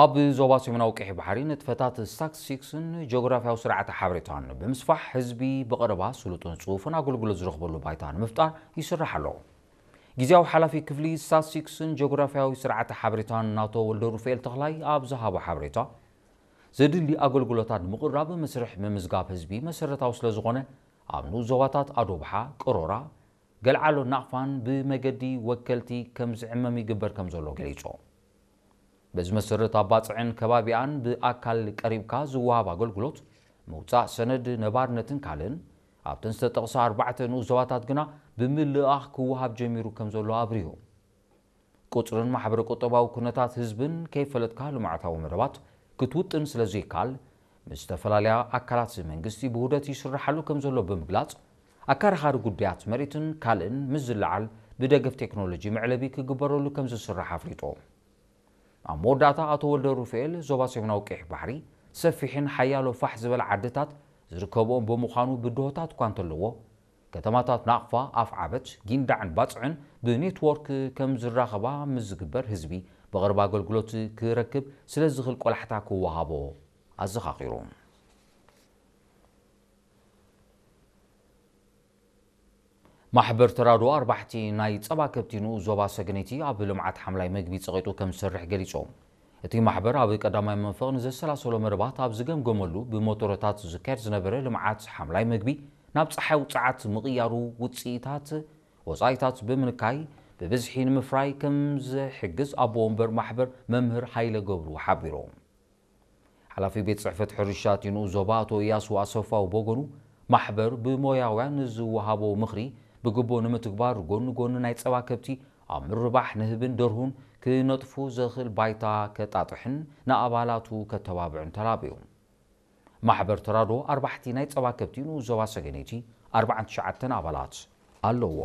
ኣብ ዞባ ሰሜናዊ ቀይሕ ባሕሪ ንጥፈታት ስታትስቲክስን ጂኦግራፊያዊ ስርዓተ ሓበሬታን ብምስፋሕ ህዝቢ ብቐረባ ስሉጥን ጽፉፍን ኣገልግሎት ዝረኽበሉ ባይታ ንምፍጣር ይስራሕ ኣሎ። ግዜያዊ ሓላፊ ክፍሊ ስታትስቲክስን ጂኦግራፊያዊ ስርዓተ ሓበሬታን ናቶ ወልደ ሩፋኤል ተኽላይ ኣብ ዝሃቦ ሓበሬታ፣ ዘድሊ ኣገልግሎታት ንምቕራብ መስርሕ ምምዝጋብ ህዝቢ መሰረታዊ ስለ ዝኾነ፣ ኣብ ንኡስ ዞባታት ኣዶብሓ፣ ቅሮራ፣ ገልዓሎ ናቕፋን ብመገዲ ወከልቲ ከም ዝዕመም ይግበር ከም ዘሎ ገሊጹ። በዚ መሰረት ኣብ ባጽዕን ከባቢኣን ብኣካል ቀሪብካ ዝወሃብ ኣገልግሎት፣ ምውጻእ ሰነድ ነባርነትን ካልእን፣ ኣብተን ዝተጠቕሳ ኣርባዕተ ንኡስ ዞባታት ግና ብምልኣኽ ክወሃብ ጀሚሩ ከም ዘሎ ኣብሪሁ። ቁጽርን ማሕበረ ቁጠባዊ ኩነታት ህዝብን ከይፈለጥካ ልምዓታዊ መደባት ክትውጥን ስለ ዘይከኣል፣ ምስ ዝተፈላለያ ኣካላት መንግስቲ ብውህደት ይስርሓሉ ከም ዘሎ ብምግላጽ፣ ኣከራኻሪ ጉዳያት መሬትን ካልእን ምስ ዝለዓል ብደገፍ ቴክኖሎጂ መዕለቢ ክግበረሉ ከም ዝስራሕ ኣፍሊጡ። ኣብ መወዳእታ ኣቶ ወልደ ሩፋኤል፣ ዞባ ሰሜናዊ ቀይሕ ባሕሪ ሰፊሕን ሓያሎ ፋሕ ዝበለ ዓድታት ዝርከብኦም ብምዃኑ ብድሆታት እኳ እንተለዎ፣ ከተማታት ናቕፋ፣ ኣፍዓበት፣ ጊንዳዕን ባጽዕን ብኔትዎርክ ከም ዝራኸባ ምስ ዝግበር ህዝቢ ብቐረባ ኣገልግሎት ክረክብ ስለ ዝኽእል ቆላሕታ ክወሃቦ ኣዘኻኺሩ። ማሕበር ተራድኦ ኣርባሕቲ ናይ ጸባ ከብቲ ንኡስ ዞባ ሰገነይቲ ኣብ ልምዓት ሓምላይ መግቢ ጸቒጡ ከም ዝሰርሕ ገሊጹ። እቲ ማሕበር ኣብ ቀዳማይ መንፈቕ ንዘሰላሰሎ መደባት ኣብ ዝገምገመሉ ብሞቶረታት ዝካየድ ዝነበረ ልምዓት ሓምላይ መግቢ ናብ ጸሓይ ውጽዓት ምቕያሩ ውጽኢታት ወጻኢታት ብምንካይ ብብዝሒ ንምፍራይ ከም ዝሕግዝ ኣቦ ወንበር ማሕበር መምህር ሃይለ ገብሩ ሓቢሩ። ሓላፊ ቤት ጽሕፈት ሕርሻ እቲ ንኡስ ዞባ ኣቶ እያሱ ኣሰፋው በጎኑ፣ ማሕበር ብሞያውያን ንዝወሃቦ ምኽሪ ብግቡእ ንምትግባር ጎኒ ጎኒ ናይ ጸባ ከብቲ ኣብ ምርባሕ ንህብን ደርሁን ክነጥፉ ዘኽእል ባይታ ከጣጥሕን ንኣባላቱ ከተባብዕን ተላብዩ። ማሕበር ተራድኦ ኣርባሕቲ ናይ ጸባ ከብቲ ንኡስ ዞባ ሰገነይቲ ኣርባዓን ትሽዓተን ኣባላት ኣለዎ።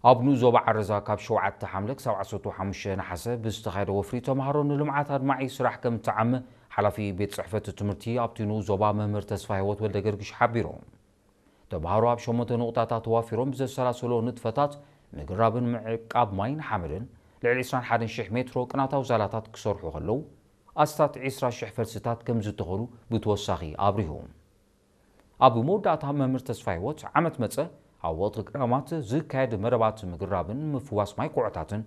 ኣብ ንኡስ ዞባ ዓረዛ ካብ ሸውዓተ ሓምለ ክሳብ ዓሰርተ ሓሙሽተ ነሓሰ ብዝተኻየደ ወፍሪ ተምሃሮ ንልምዓት ኣድማዒ ስራሕ ከም እተዓመ ሓላፊ ቤት ጽሕፈት ትምህርቲ ኣብቲ ንኡስ ዞባ መምህር ተስፋ ህይወት ወልደ ገርግሽ ሓቢሩ። ተምሃሮ ኣብ ሸሞንተ ንቑጣታት ተዋፊሮም ብዘሰላሰሎ ንጥፈታት ምግራብን ምዕቃብ ማይን ሓመድን ልዕሊ ዕስራን ሓደን ሽሕ ሜትሮ ቅናታዊ ዛላታት ክሰርሑ ከለዉ፣ ኣስታት ዕስራ ሽሕ ፈልስታት ከም ዝተኸሉ ብተወሳኺ ኣብሪሁ። ኣብ መወዳእታ መምህር ተስፋ ህይወት፣ ዓመት መጸ ኣብ ወቕቲ ክራማት ዝካየድ መደባት ምግራብን ምፍዋስ ማይ ኩዖታትን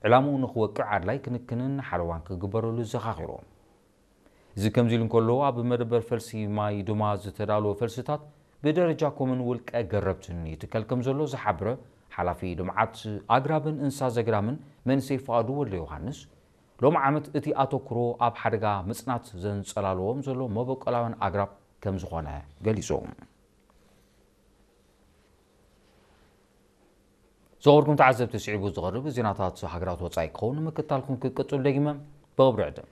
ዕላምኡ ንኽወቅዕ ኣድላይ ክንክንን ሓለዋን ክግበረሉ ዘኻኺሩ። እዚ ከምዚ ኢሉ እንከሎ፣ ኣብ መደበር ፈልሲ ማይ ድማ ዝተዳለወ ፈልስታት ብደረጃ ኮምን ውልቀ ገረብትን ይትከል ከም ዘሎ ዝሓብረ ሓላፊ ልምዓት ኣግራብን እንስሳ ዘገዳምን መንእሰይ ፍቓዱ ወልደ ዮሃንስ፣ ሎም ዓመት እቲ ኣተኩሮ ኣብ ሓደጋ ምጽናት ዘንጸላልዎም ዘሎ መበቆላውያን ኣግራብ ከም ዝኾነ ገሊጹ። ዝኸበርኩም ተዓዘብቲ፣ ስዒቡ ዝቐርብ ዜናታት ሃገራት ወጻኢ ክኸውን ምክትታልኩም ክቅጽሉ ደጊመ ብኽብሪ ዕድም።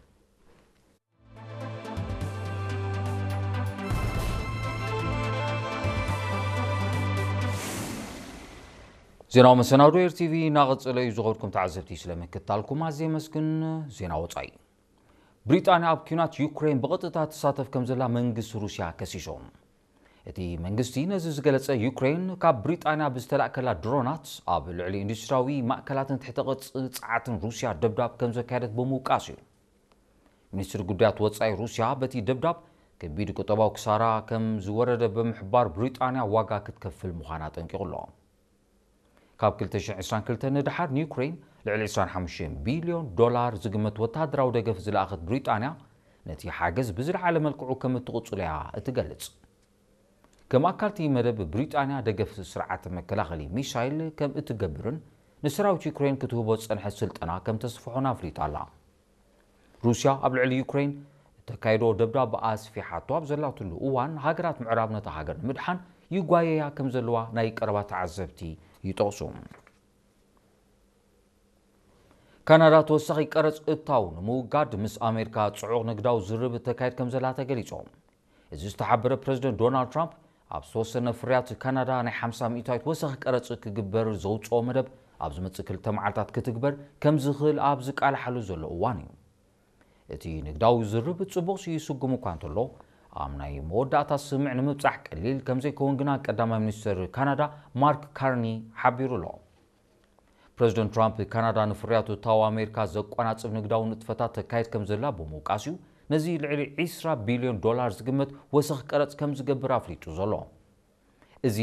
ዜናዊ መሰናዶ ኤር ቲቪ እናቐጸለ እዩ። ዝኸበርኩም ተዓዘብቲ፣ ስለ ምክትታልኩም ኣዝየ የመስግን። ዜና ወጻኢ። ብሪጣንያ ኣብ ኲናት ዩክሬን ብቐጥታ ትሳተፍ ከም ዘላ መንግስቲ ሩስያ ከሲሱ። እቲ መንግስቲ ነዚ ዝገለጸ፣ ዩክሬን ካብ ብሪጣንያ ብዝተላእከላ ድሮናት ኣብ ልዕሊ ኢንዱስትሪያዊ ማእከላትን ትሕተ ቅርጺ ጸዓትን ሩስያ ደብዳብ ከም ዘካየደት ብምውቃስ እዩ። ሚኒስትሪ ጉዳያት ወጻኢ ሩስያ በቲ ደብዳብ ከቢድ ቁጠባዊ ክሳራ ከም ዝወረደ ብምሕባር፣ ብሪጣንያ ዋጋ ክትከፍል ምዃና ኣጠንቂቑ ኣሎ። ካብ ክልተ ሽሕ ዕስራን ክልተን ንደሓር ንዩክሬን ልዕሊ ዕስራን ሓሙሽተን ቢልዮን ዶላር ዝግመት ወተሃደራዊ ደገፍ ዝለኣኸት ብሪጣንያ፣ ነቲ ሓገዝ ብዝለዓለ መልክዑ ከም እትቕጽሎ እያ እትገልጽ። ከም ኣካል እቲ መደብ፣ ብሪጣንያ ደገፍ ስርዓት መከላኸሊ ሚሳይል ከም እትገብርን ንሰራዊት ዩክሬን ክትህቦ ዝጸንሐት ስልጠና ከም ተስፍሖን ኣፍሊጣ ኣላ። ሩስያ ኣብ ልዕሊ ዩክሬን እተካይዶ ደብዳብ ኣስፊሓቶ ኣብ ዘላትሉ እዋን፣ ሃገራት ምዕራብ ነታ ሃገር ንምድሓን ይጓየያ ከም ዘለዋ ናይ ቀረባ ተዓዘብቲ ይጠቕሱ። ካናዳ ተወሳኺ ቀረጽ እታው ንምውጋድ ምስ ኣሜሪካ ጽዑቕ ንግዳዊ ዝርርብ እተካይድ ከም ዘላ ተገሊጹ። እዚ ዝተሓበረ ፕረዚደንት ዶናልድ ትራምፕ፣ ኣብ ዝተወሰነ ፍርያት ካናዳ ናይ ሓምሳ ሚእታዊት ወሰኺ ቀረጽ ክግበር ዘውጽኦ መደብ ኣብ ዝመጽእ ክልተ መዓልታት ክትግበር ከም ዝኽእል ኣብ ዝቃልሓሉ ዘሎ እዋን እዩ። እቲ ንግዳዊ ዝርርብ ጽቡቕ ይስጉም እኳ እንተሎ፣ ኣብ ናይ መወዳእታ ስምምዕ ንምብጻሕ ቀሊል ከም ዘይከውን ግና ቀዳማይ ሚኒስትር ካናዳ ማርክ ካርኒ ሓቢሩ ኣሎ። ፕሬዚደንት ትራምፕ፣ ካናዳ ንፍርያቱ ታዋ ኣሜሪካ ዘቋናጽብ ንግዳዊ ንጥፈታት ተካይድ ከም ዘላ ብምውቃስ እዩ ነዚ ልዕሊ ዕስራ ቢልዮን ዶላር ዝግመት ወሰኽ ቀረጽ ከም ዝገብር ኣፍሊጡ ዘሎ። እዚ